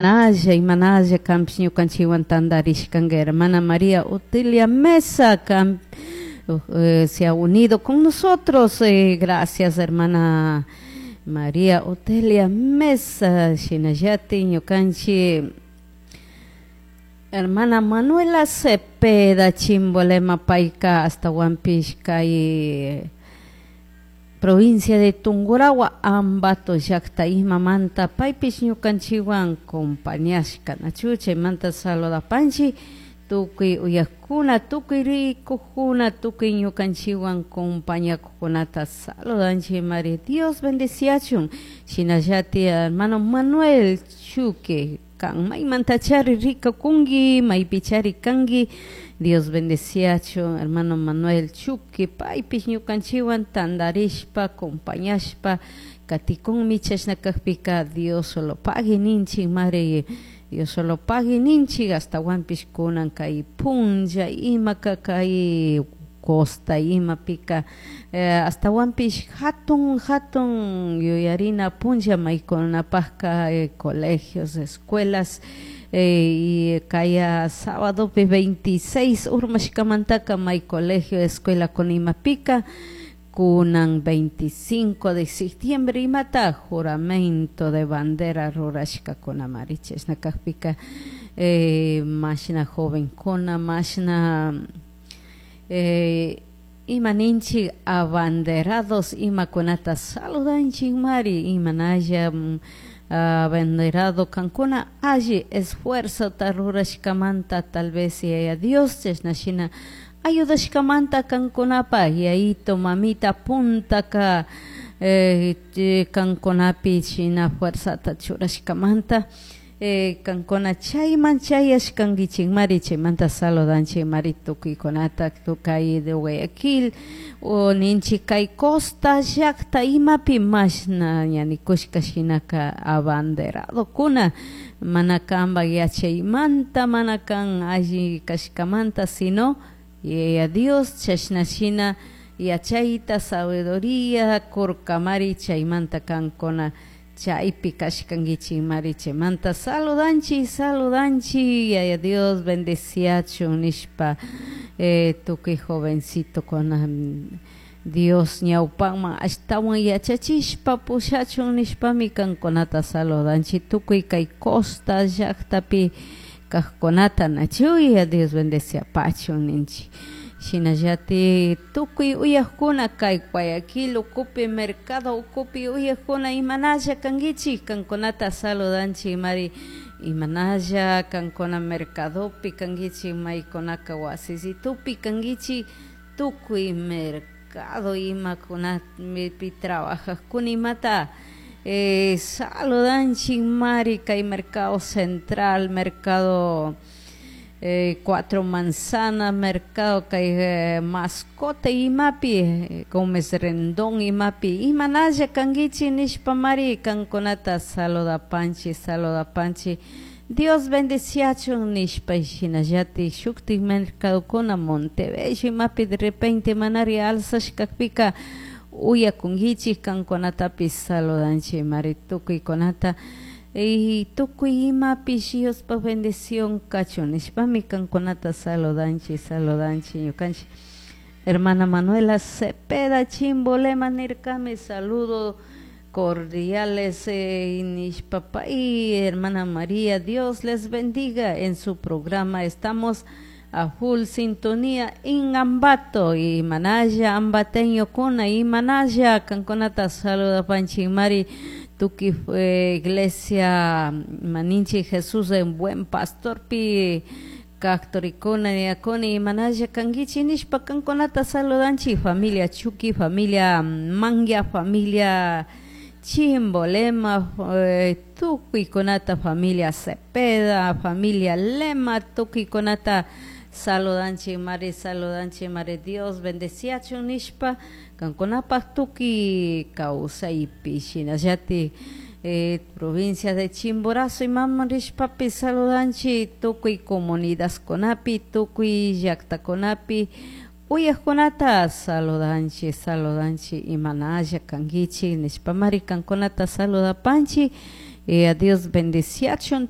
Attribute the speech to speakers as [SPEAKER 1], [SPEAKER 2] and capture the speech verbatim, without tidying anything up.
[SPEAKER 1] Naya imanalla kanpish ñukanchikwan tantarishkanka hermana María Otilia Mesa kan, eh, se ha unido con nosotros. Eh, gracias, hermana María Otilia Mesa. Shinallatik ñukanchik hermana Manuela Cepeda Chimbolema, payka ashtawanpish kay provincia de Tungurahua, Ambato llakta imamanta paypish ñukanchikwan compañashka, nachu? Chaymanta saludapanchik tukuy uyakuna, tukuy rikukuna, tukuy ñukanchikwan compañakukunata saludanchik mari. Dios bendeciachun. Shinallatik hermano Manuel Chuque, kan maymantachari rikukunki, maypichari kanki, Dios bendeciachun hermano Manuel Chuque, paypish ñukanchikwan tantarishpa compañashpa katikunmi. Chashna kakpika Dios solo pagui ninchik mari, Dios solo pagui ninchik. Ashtawanpish kunan kay punlla imaka kay costa imapika eh, ashtawanpish hatun hatun yuyarina punlla maykunapakka eh, colegios, escuelas eh, y kaya sábadopi veintiséis urmashkamantaka may colegio, escuela con imapika kunan veinticinco de septiembre imata juramento de bandera rurashkakunamari. Chashna kakpika eh, mashna jovenkuna, mashna eh, ima ninchik abanderados imakunata saludanchik mari. Imanalla abanderado kankuna alli esfuerzota rurashkamanta, tal vez Yaya Dios chashna shina ayudashkamanta kankunapaj yayito mamita puntaka eh, kankunapi shina fuerzata churashkamanta eh, kankuna chayman chayashkankichikmari. Chaymanta saludanchik mari tukuykunata kay de Guayaquil o ninchik kay costa llakta imapi mashna ña nikushka shinaka abanderadokuna mana kanpak yachaymanta, mana kan alli kashkamanta, sino Yaya Dios chashna shina yachayta, sabiduría kurkamari. Chaymanta kankuna chaypi kashkankichikmari. Chaymanta saludanchik, saludanchik, Yaya Dios bendeciachun nishpa eh, tukuy jovencitokuna Dios ñawpakman ashtawan yachachishpa pushachun nishpami kankunata saludanchik tukuy kay costa llaktapi kajkunata, nachu? Yaya Dios bendeciapachun ninchik. Shinallatik tukuy uyakuna kay Guayaquil ukupi, mercado ukupi uyakuna, imanalla kankichik? Kankunata saludanchik mari. Imanalla kankuna mercadopi kankichik, maykunaka wasisitupi kankichik, tukuy mercado imakunapi trabajajkuna imata eh, saludanchik mari. Kay mercado central, mercado eh, Cuatro Manzanas, mercado kay eh, Mascote imapi, Gómez Rendón imapi, imanalla kankichik nishpa mari kankunata saludapanchik, saludapanchik, Dios bendeciachun nishpa. Shinallatik shuktik mercadokuna Montebello imapi de repente manari alzashkakpika uyakunkichik, kankunatapish saludanchik mari tukuykunata y tukuy imapish Diospaj bendición kachun nishpami kankunata saludanchik, saludanchik ñukanchik. Hermana Manuela Cepeda Chimbolema nirkami saludo cordiales eh, nishpa y hermana María, Dios les bendiga en su programa, estamos a full sintonía en Ambato. Y manalla ambateño kuna, y manalla kankunata saludapanchik mari. Tukuy eh, iglesia maninchi Jesús en Buen Pastor pi kaktorikuna yakuna, imanalla kankichik nishpa kankunata saludanchik. Familia Chuqui, familia Mangia, familia Chimbolema, eh, tukuykunata, familia Cepeda, familia Lema, tukuykunata saludanchik mari, saludanchik mari, Dios bendeciachun nishpa kankunapaj tukuy kawsaypi. Shinallatik eh, provincia de Chimborazo imaman rishpapi saludanchik tukuy comunidadkunapi, tukuy llaktakunapi uyakkunata saludanchik, saludanchik, imanalla kankichik nishpa mari kankunata saludapanchik. Yaya Dios bendiciachun.